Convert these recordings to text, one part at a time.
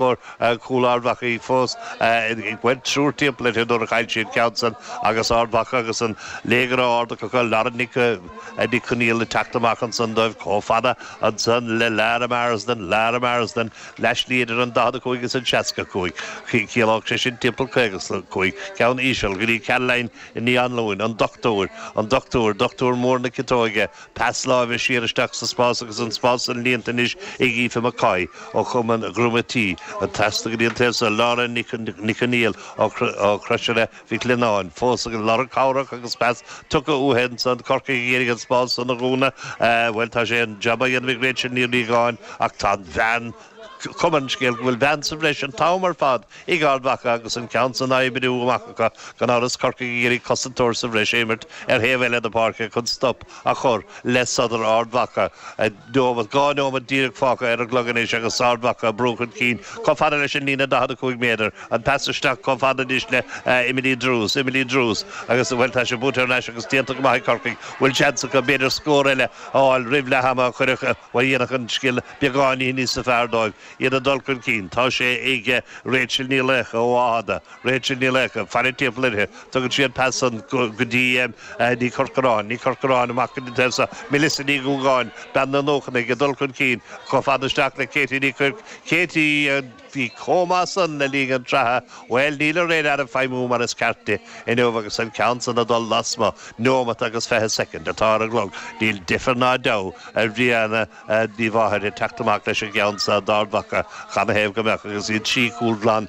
Chomhair cúl Ard Mhacha fós ag baint triúr timpeall uirthi nuair a chaill sí an ceann san agus Ard Mhacha agus an léigear á ardú acu Lauren Nic Nic Conaill ag teacht amach ansan dóibh chomh fada ansan le Lara Marsden, Lara Marsden, leathshlí idir an 45 agus an 65. Chiallódh sé sin timpeall 55. Ceann íseal go dtí Caroline Ní Anluain, an dochtúir, an dochtúir, dochtúir mór na ciotóige. Pas láimhe siar isteach sa spás agus an spás san líonta anois ag Aoife McCoy ó Chumann Dhroim Tí. Trasna go dtí an taobh so, Laura Nic Conaill ó Chrosaire Mhic Lionnáin. Fós ag lorg cabhrach agus pas tugtha uaithi ansan. Corcaigh ag iarraidh an spás san a dhúnadh. Bhuel, tá sé an jab á dhéanamh ag Rachel Ní Riagáin ach tá an bhean, cuma ar an scéal go bhfuil bean sa bhreis an t-am ar fad ag Ard Mhacha agus an ceann san á oibriú amach acu, gan amhras Corcaigh ag iarraidh cosantóir sa bhreis a imirt ar thaobh eile na páirce chun stop a chur le sodar Ard Mhacha. Neomat, 2 neomat díreach fágtha ar an gclog anois agus Ard Mhacha ag brú chun cinn chomh fada leis an líne 45 méadar. An pas isteach chomh fada anois le Emily Drews, Emily Drews agus, bhuel, tá sé buaite thar n-ais agus déanta go maith ag Corcaigh. Bhfuil seans acu b'fhéidir scór eile a fháil roimh leath ama a chuirfeadh, bhuel, dhéanfadh an scéal beagáinín níos fearr dóibh iad ag dul chun cinn. Tá sé ag Rachel Ní Laochdha ó Fháthada. Rachel Ní Laochdha, faire timpeall uirthi. Tugann sí an pas san go dtí Ní Chorcoráin. Ní Chorcoráin amach go dtí an taobh seo. Melissa Ní Dhúgáin, bean na nóchanna ag dul chun cinn chomh fada isteach le Katie Ní Chuirc. Katie. Bhí chomh maith san le linn an tsraithe. Bhuel, níl an radar ag feidhmiú mar is ceart di inniu agus an ceann san ag dul lasmuigh. Neomat agus 20 soicind atá ar an gclog. Níl deifir ná deabhadh ar Bhrianna Ní Mháthair ag teacht amach leis an gceann seo d'Ard Mhacha. Canathaobh go mbeadh agus iad trí chúl glan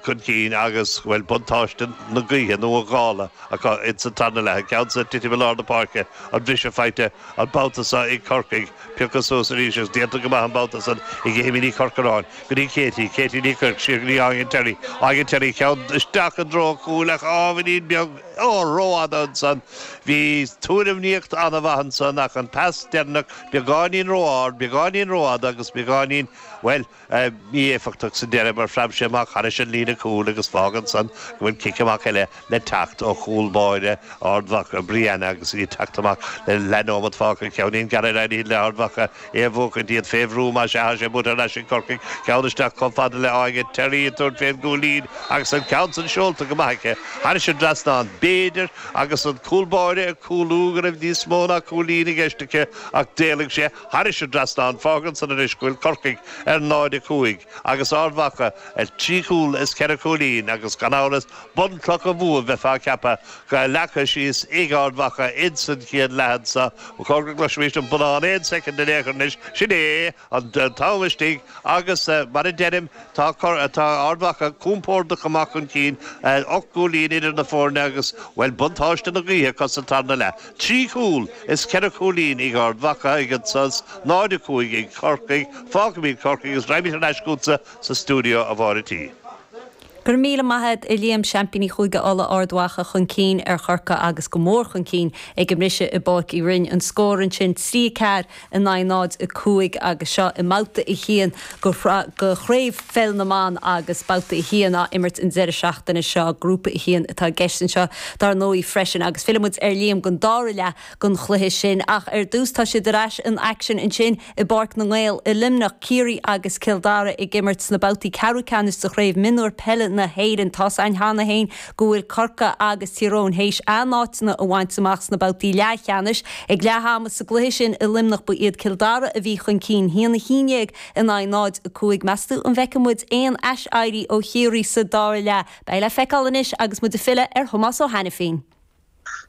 chun cinn agus, bhuel, buntáiste na gaoithe nó an ghála acu ins an tarna leath. An ceann seo ag titim i lár na páirce, an briseadh faighte an babhta seo ag Corcaigh. Pioctha suas arís agus déanta go maith an babhta san ag Amy Ní Chorcoráin go dtí Katie, Katie Ní Chuirc siar go dtí Áine Terry, Áine Terry ceann isteach i dtreo an chúil ach ábhairín beag, ó, rófhada ansan. Bhí tuairimíocht an-mhaith ansan ach an pas deireanach beagáinín ró-ard, beagáinín rófhada agus beagáinín, bhuel, mí-éifeachtach sa deireadh mar phreab sé amach thairis an líne cúil agus fágann san go bhfuil cic amach eile le teacht ó chúl báire Ard Mhacha, Brianna, agus í ag teacht amach le leathnóimeat fágtha. Ceainnín gearr éirithe le Ard Mhacha é a bhuachaint, iad fé bhrú más ea, tá sé buaite thar n-ais ag Corcaigh. Ceann isteach chomh fada le Áine Terry ag tabhairt fén gcúilín agus an ceann san seolta go maith aici thairis an dtrasnán, b'fhéidir, agus an cúl báire ag cúlú go raibh níos mó ná cúilín i gceist aici ach d'éalaigh sé thairis an dtrasnán. Fágann san anois go bhfuil Corcaigh ar 0-5 agus Ard Mhacha ar 3 chúl is 4 chúilín agus gan amhras bunchloch an bhua bheifeá ag ceapadh go leagtha síos ag Ard Mhacha ins an chéad leath anso. Ba chóir go gcloisfimís an bonnán aon soicind in aon chor anois. Sin é an t-am istigh agus mar a deirim tá tá Ard Mhacha compordach amach chun cinn, 8 gcúilín idir na foirne agus, bhuel, buntáiste na gaoithe acu sa tarna leath. 3 chúl is 4 chúilín ag Ard Mhacha ag an sos, 0-5 ag Corcaigh. Fágfaimid Corcaigh agus raghaimid thar n-ais chugatsa sa stiúideo, a Mháire T. Go raibh míle maith a't, a Liam. Seaimpíní Chúige Uladh, Ard Mhacha chun cinn ar Chorcaigh agus go mór chun cinn ag an mbriseadh i bPáirc Uí Rinn. An scór ansin, 3 4 in aghaidh 0 5 agus seo i mbabhta 1 de Chraobh Pheil na mBan agus babhta 1 á imirt an deireadh seachtaine seo. Grúpa 1 atá i gceist anseo dar ndóigh freisin agus fillfidh muid ar Liam don dara leath den chluiche sin ach ar dtús tá siad ar ais in aicsean ansin i bPáirc na nGael i Luimneach, Ciarraí agus Cill Dara ag imirt sna babhtaí ceathrú ceannais de Chraobh Mionúir Peile na hÉireann. Tá's a'inn cheana féin go bhfuil Corcaigh agus Tír Eoghain théis a n-áiteanna a bhaint amach sna babhtaí leathcheannais. Ag leath ama sa gcluiche sin i Luimneach ba iad Cill Dara a bhí chun cinn, 1-11 in aghaidh 0-5. Meas tú an bhfeicfidh muid aon ais-éirí ó Chiarraí sa dara leath? Beidh le feiceáil anois agus muid ag filleadh ar Thomás Ó hAiniféin.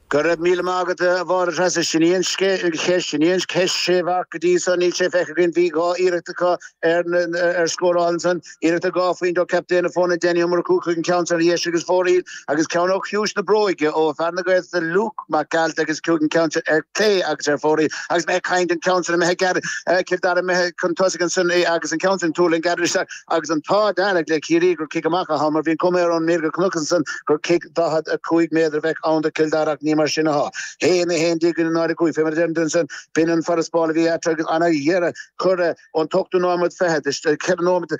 Go raibh míle maith agat, a Mháire Treasa. Sin í an cheist, sin í an cheist sé mharc go dtí so, níl sé feicthe againn. Bhí 2 iarracht acu ar ar scóráil ansan. Iarracht ar 2 phointe ó captaen na foirne, Danny Ó Murchú, chuig an ceann san ar dheis agus fóraoil agus ceann ó chiumhais na bróige ó fear na Gaeltachta Luke Mac Gearailt agus chuig an ceann sin ar clé agus ar fóraoil. Agus mé ag caint an ceann san imithe gearr, Cill Dara imithe chun tosaigh ansan agus an ceann sin tuairling gearr isteach agus an t-ádh dearg le Ciarraí gur cic amach atá ann mar bhí an cuma ar an mír go chonac ansan gur cic 45 méadar a bheadh ann do Chill Dara ach ní. mar sin atá. 1, 11 0, 5, fé mar a deirim duit ansan, b'in an farasbarr a bhí eatarthu agus ana-dheireadh curtha ón t-ochtú nóiméad fichead, 4 nóiméad,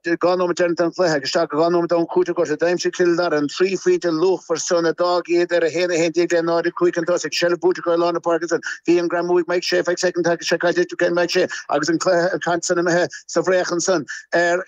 2 nóiméad deireanach den chluiche agus isteach go 2 nóiméad ón chúiteamh gorta. D'aimsigh Cill Dara an trí phointe luachmhar san a d'fhág iad ar 1, 11 le 0, 5 chun tosaigh. Seilbh buaite acu ar lár na páirce ansan. Bhí an greamú ag Mike Shea feadh soicind, tá sé caillte ag Mike Shea agus an cluiche, an chaid san imithe sa bhfraoch ansan ar.